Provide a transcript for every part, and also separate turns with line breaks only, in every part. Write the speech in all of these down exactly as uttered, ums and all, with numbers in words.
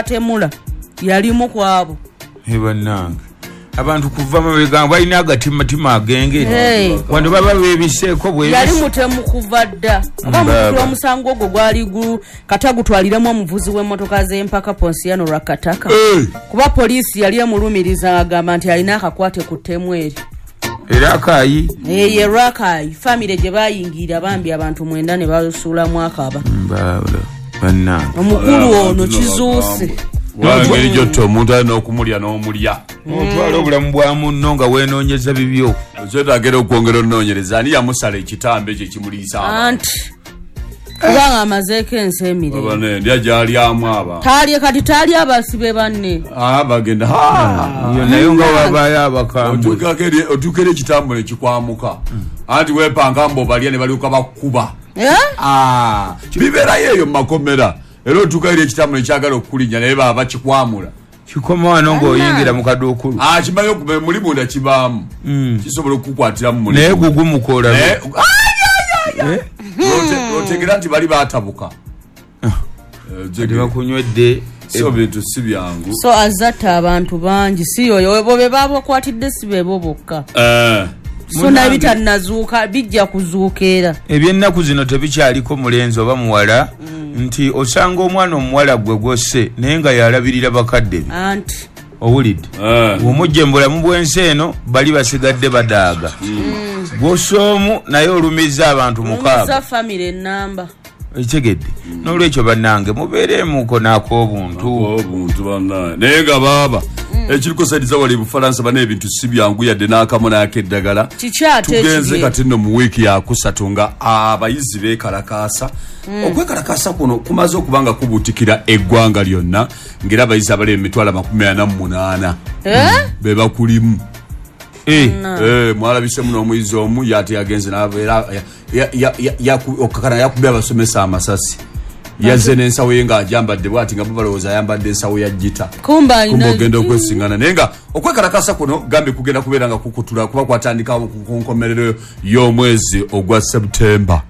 Batemula yalimu kwabo.
Bannange, abantu kuva mabega balina agatimatima agengeri.
Hey.
Wano baba beebiseeko bwe
Yali mutemu kuva dda. Oba mukulu, omusango ogwo gwali gu katagutwaliramu omuvuzi w'emmotoka z'empaka Ponsiano Lwakataka,
Eh,
kuba poliisi yali emulumiriza, agamba nti alina akakwate ku ttemu eri.
Era akayi.
Ye Rwakayi famire gye bayingirira, bambi abantu mwenda ne basuulamu akaba.
Bannange.
Omukulu ono kizuuse.
Engeri gyotta omuntu alina okumulya n'omulya.
Otwala obulamu bwa munno nga weenoonyeza bibyo.
Kyetagera okwongera onoonyereza ani yamusala ekitambo ekyo ekimuliisa abantu.
Anti kubanga amazeeko ensi emirembe.
Aba nendya gyalyamu aba.
Taalye kati, taali abasibe banne.
Ah, bagenda.
Yo nayo nga wabaayo abakambwe.
Otuukako eri- otuuka eri ekitambo nekikwamuka, anti weepanga mbu obalya ne balyoka bakkuba.
Eh?
Ah, bibeerayo eyo mu makomera, era otuuka eri ekitambo nekyagala okukulinnya, naye baba bakikwamula.
Kikoma wano ng'oyingira mu kaduukulu.
Ah, kimanyi okuba muli munda kibaamu, kisobola okukukwatiramu muli.
Naye gugumukola.
Naye- Lwote- lwotegera nti bali batabuka. Eh,
Tebakunywedde.
So bintu si byangu.
So azatta abantu bangi, si yoyo bo be babakwatidde, si bebo bokka.
Eh,
So naye bitannazuuka, bijja kuzuuka era.
Ebyennaku zino tebikyaliko mulenzi oba muwala, nti osanga omwana omuwala gwe gwosse naye nga yalabirira bakadde be.
Anti
Owulidde?
Eh.
Omujje mu bulamu bw'ensi eno, bali basigadde badaaga. Gwossa omu naye olumiza abantu mukaaga.
Olumiza famire enamba.
Ekitegedde? N'olwekyo bannange, mubeereemuko n'ak'obuntu.
Obuntu bannaye, naye nga baaba ekiriko saidiza wali Bufalansa bana, ebintu si byangu yadde n'akamu n'akeddagala.
Kiki ate
Tugenze
ekiri?
Kati nno mu wiiki yakusatu nga abayizi beekalakaasa. Okwekalakaasa kuno kumaze okuba nga kubuutikira eggwanga lyonna, ng'era abayizi abali emitwalo amakumi ana mu munaana
Eh?
be bakulimu.
Eh,
Eh, mwalabisemu n'omuyizi omu yate yagenze n'abeera okakana yakubye abasomesa amasasi. Yazze n'ensawo ye ng'agyambadde bwati, nga bo balowooza ayambadde ensawo ya gita.
Kumba
Kumba
alina
ogenda okwesiŋŋana, naye nga okwekalakasa kuno gambe kugenda kubeera nga kukutula kuba kwatandikawo ku nkomerero y'omwezi ogwa Septemba.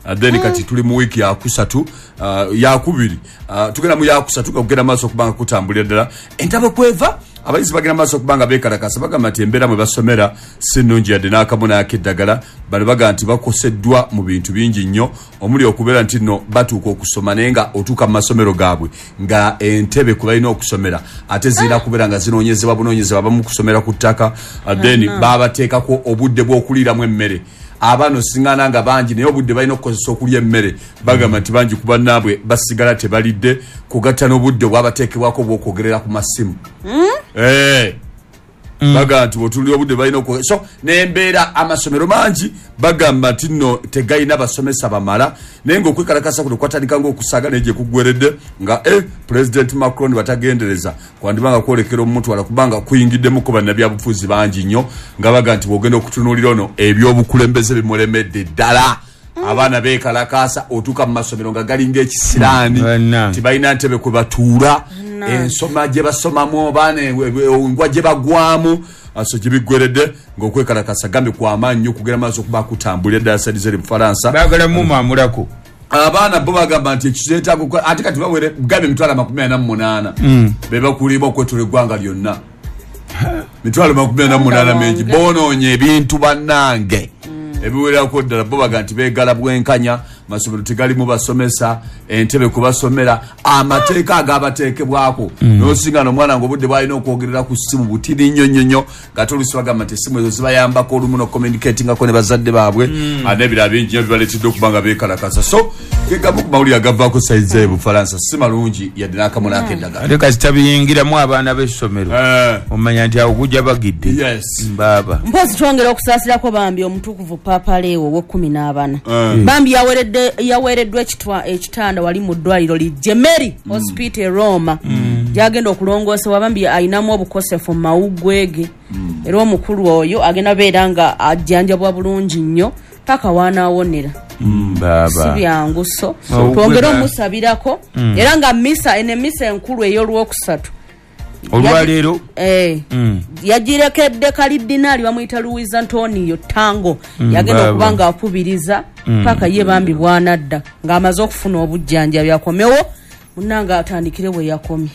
Uh, then kati tuli mu wiiki yakusatu, uh, yakubiri, uh, tugenda mu yakusatu nga kugenda maaso okuba nga kutambulira ddala entabo kweva. Abayizi bagenda maaso okuba nga beekalakasa, bagamba nti embeera mwe basomera si nnungi yadde n'akamu n'akeddagala. Bano bagamba nti bakoseddwa mu bintu bingi nnyo, omuli okubeera nti nno batuuka okusoma, naye nga otuuka mu masomero gaabwe nga entebe kwe balina okusomera ate zirina kubeera nga zinoonyezebwa bunoonyezebwa, abamu kusomera ku ttaka. Uh, then babateekako obudde bw'okuliiramu emmere. Abaana osiŋŋaana nga bangi, naye obudde balina okukozesa okulya emmere, bagamba nti bangi ku bannaabwe basigala tebalidde, kugatta n'obudde obwabateekebwako obw'okwogerera ku masimu. Eh. Bagamba nti bw'otunuulira obudde balina okwo, so n'embeera amasomero mangi bagamba nti nno tegalina basomesa bamala. Naye ng'okwekalakasa kuno kwatandika ng'okusaaga, naye gye kuggweredde nga eh, President Macron batagendereza kwandiba nga kwolekera omutwala, kubanga kuyingiddemuko bannabyabufuzi bangi nnyo, nga baga nti bw'ogenda okutunuulira ono ebyobukulembeze bimulemedde ddala. Abaana beekalakaasa, otuuka mu masomero nga galinga ekisiraani.
Bannange.
Tibalina ntebe kwe batuula, ensoma gye basomamu abaana engwa gye bagwamu. So gye biggweredde ng'okwekalakasa gambe kwamaanyi nnyo okugenda maaso okuba kutambulira ddala sadize Bufalansa.
Baagala mumamulako.
Abaana bo bagamba nti ekizeetaaga, ate kati bawere gambe emitwalo amakumi ana mu munaana be bakulimu okwetula eggwanga lyonna. Mitwalo makumi ana mu munaana mingi. Bonoonye ebintu bannange ebiwererako ddala. Bo baga nti beegala bwenkanya, masomero tegalimu basomesa, entebe kubasomera, amateeka agabateekebwako, nosinga nomwana nga obudde bwalina okwogerera ku ssimu butini nnyo nnyo nnyo, ngate oluusi bagamba nti essimu ezo zibayambako olumu n'ocommunicatingako ne bazadde baabwe. Ah, n'ebirala bingi nnyo bibaleetedde okuba nga beekalakasa. So gegamu ku mawulire agavaako sayizi eyo Bufalansa si malungi yadde n'akamu n'akeddagala.
Ate kasita biyingiramu abaana b'essomero,
Eh,
omanya nti awo gujja bagidde.
Yes.
Mbaaba.
Mpozi twongera okusaasirako bambi omutukuvu Paapa Leewo ow'ekkumi n'abana.
Eh.
Bambi yaweredde yaweereddwa ekitwa- ekitanda wali mu ddwaliro li Gemelli Hospital e Roma, gyagenda okulongoosebwa. Bambi ayinamu obukosefu mu mawuggwe ge, era omukulu oyo agenda beera nga ajjanjabwa bulungi nnyo paka wanaawonera. Si
Mbaaba.
byangu, so
Mawuggwe
twongere
ga-
omusabirako, era nga misa eno, emisa enkulu ey'olwokusatu
Olwaleero.
Eh.
Mm.
Yagirekedde kalidinaali bamuyita Luis Antonio Tango, yagenda
Baba.
okuba nga akubiriza paka ye bambi bwanadda ng'amaze okufuna obujjanjabi, akomewo munanga atandikire bwe yakomye.